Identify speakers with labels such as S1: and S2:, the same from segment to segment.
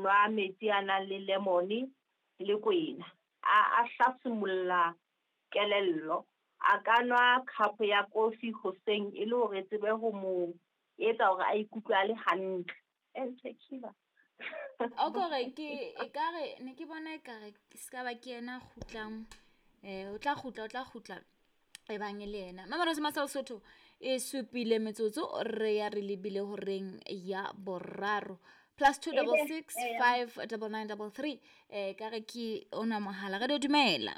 S1: nwa metsi a nang le lemon le kwena. A hlasimolola kelello. A ka nwa cup ya kofi hoseng e le hore e tsebe ho mo etsa hore a ikutlwe a le hantle. Tequila.
S2: O kore ke ekare ne ke bona ekare se ka ba ke yena a kgutlang, o tla kgutla e bang le yena. Mamelodi Masal Sotho e supile metsotso re ya re lebile horeng ya boraro. +2 66 5 99 33 ka re ke ona mohala. Re dumela.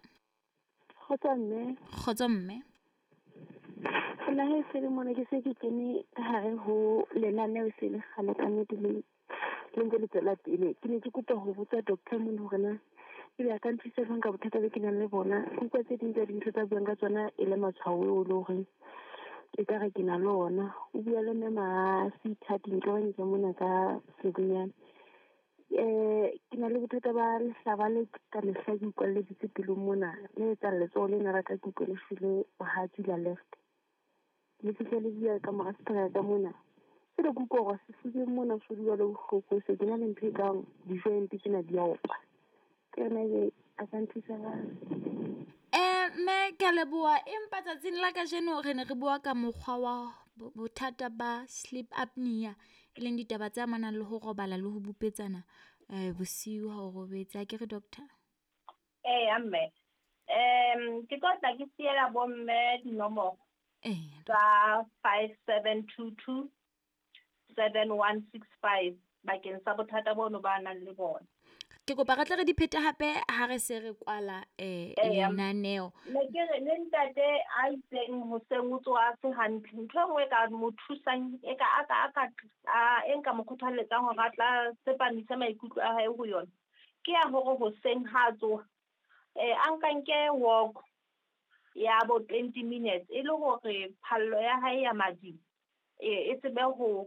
S3: Kgotso mme.
S2: Kgotso mme.
S3: Nna he se le mona ke se ke kene ka hare ho lenaneo se le kgale ka nnete le ntse le tswela pele. Ke ne ke kopa ho botsa doctor mona hore na ebe a ka nthusa jwang ka bothata bo ke nang le bona. Ke utlwa tse ding tsa dintho tsa buang ka tsona e le matshwao eo le horeng ekare ke na le ona. O bua le mme Masitha Dintlwanetsa mona ka Sedinyane. Ke na le bothata ba lehlaba le ka mehla ke utlwalleditse pelong mona, le etsang letsoho lena la ka ke utlwe le shwele bohatsu la left. Le fihle le bua ka mora seterata mona. Ke le kutlwa hore sefubeng mona so dula le bohloko, se ke na le ntho e kang di-joint tsena di a opa. Ke yona ebe a ka nthusa jwang?
S2: Mme ke a leboha, empa tsatsing la kajeno re ne re bua ka mokgwa wa bothata ba sleep apnea, e leng ditaba tse amanang le ho robala le ho bupetsana bosiu ha o robetse. Ha ke re doctor?
S1: Eya mme. Ke tlo tla ke siela bomme dinomoro tsa 5722 7165 bakeng sa bothata bono ba nang le bona.
S2: Ke kopa re tle re di phete hape ha re se re kwala lenaneo.
S1: Ne ke re le ntate a itseng hoseng o tsoha se hantle. Ntho e nngwe e ka mo thusang, e ka a ka a e nka mo kgothalletsang hore a tla tsepamise maikutlo a hae ho yona, ke ya hore hoseng ha a tsoha, a nka nke walk ya bo 20 minutes e le hore phallo ya hae ya madi e tsebe ho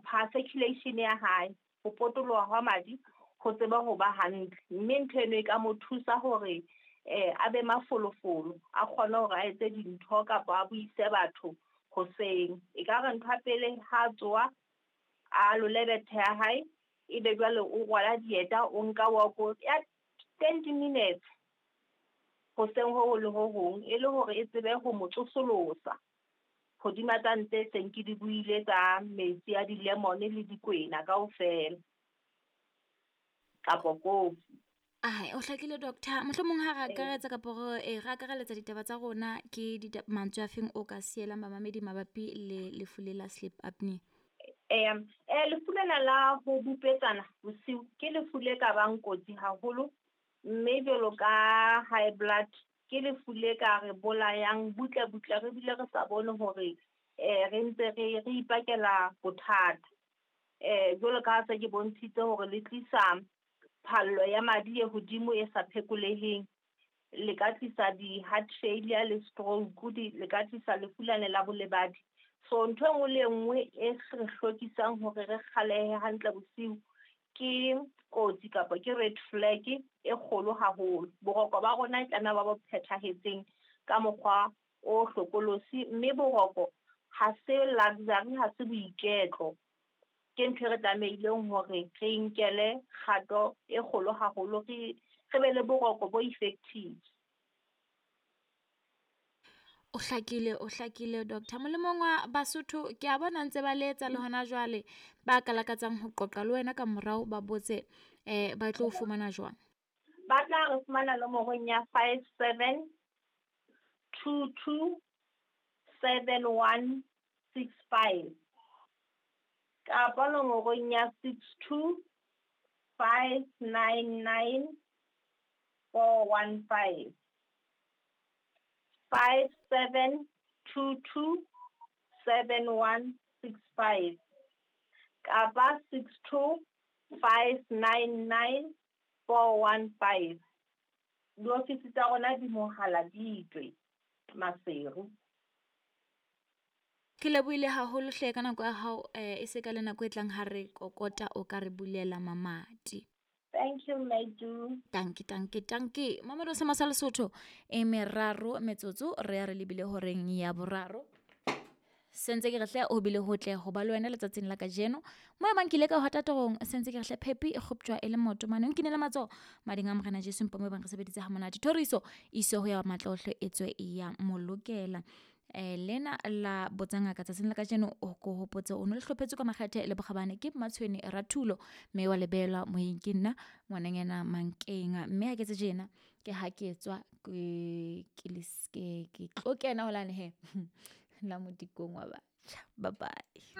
S1: pha circulation ya hae, ho potoloha hwa madi ho tsebe ho ba hantle. Mme ntho eno e ka mo thusa hore a be mafolofolo, a kgone hore a etse dintho kapa a buise batho hoseng. E ka re ntho ya pele ha a tsoha, a lole bethe ya hae, ebe jwale o rwala dieta, o nka walk ya 20 minutes hoseng ho le ho hong, e le hore e tsebe ho mo tsosolosa hodima tsa ntse seng ke di buile tsa metsi a di-lemon le dikwena kaofela kapo kofi.
S2: Ai, o hlakile doctor. Mohlomong ha re akaretsa kapa re akareletsa ditaba tsa rona, ke mantswe a feng o ka sielang bamamedi mabapi le lefu le la sleep apnea?
S1: Lefu lena la ho bupetsana bosiu ke lefu le ka bang kotsi haholo, mme jwalo ka high blood ke lefu le ka re bolayang butle butle, re bile re sa bone hore re ntse re ipakela bothata. Jwalo ka ha se ke bontshitse hore le tlisa phallo ya madi e hodimo e sa phekoleheng, le ka tlisa di-heart failure le stroke, le ka tlisa lefu lane la bolebadi. So ntho e nngwe le e nngwe e re hlokisang hore re kgalehe hantle bosiu ke kotsi kapa ke red flag e kgolo haholo. Boroko ba rona e tlameha ba bo phethahetseng ka mokgwa o hlokolosi, mme boroko ha se luxury, ha se boiketlo. Ke ntho e re tlamehileng hore re inkele kgato e kgolo haholo, re be le boroko bo effective.
S2: O hlakile doctor. Molemong wa Basotho ke a bona ntse ba letsa le hona jwale, ba ka lakatsang ho qoqa le wena ka morao ba botse ba tlo fumana jwang?
S1: Ba tla re fumana nomorong ya 57 22 7165 kapa nomorong ya 62 599 415. 57 22 7165 kapa 62 599 415. Diofisi tsa rona di mohala di Maseru.
S2: Ke lebohile haholo hle ka nako ya hao, e se ka le nako e tlang ha re kokota o ka re bulela mamati.
S1: Thank you, Madu.
S2: Tanki. Mamelodi sa Masal Sotho e meraro metsotso re ya re lebile horeng ya boraro. Sentse ke re hle ho bile hotle ho ba le wena letsatsing la kajeno. Mo e bang ke ile ka hota torong, sentse ke re hle phepi e kgoptjwa e le maoto mane. O nkinele matsoho mading a Morena Jesu mpa mo e bang re sebeditse ha monate. Thoriso iso ho ya matlaohle e tswe e ya molokela. Lena la botsa ngaka tsatsing la kajeno o ko hopotse o no le hlophetswe ka makgethe le bokgabane ke Mmatshweni Rathulo, mme wa lebelwa moyeng ke nna ngwananyana Mankeng. Mme ha ke tse tjena ke ha ke tswa ke ke tlo kena holane he la modikong wa batjha. Bye bye.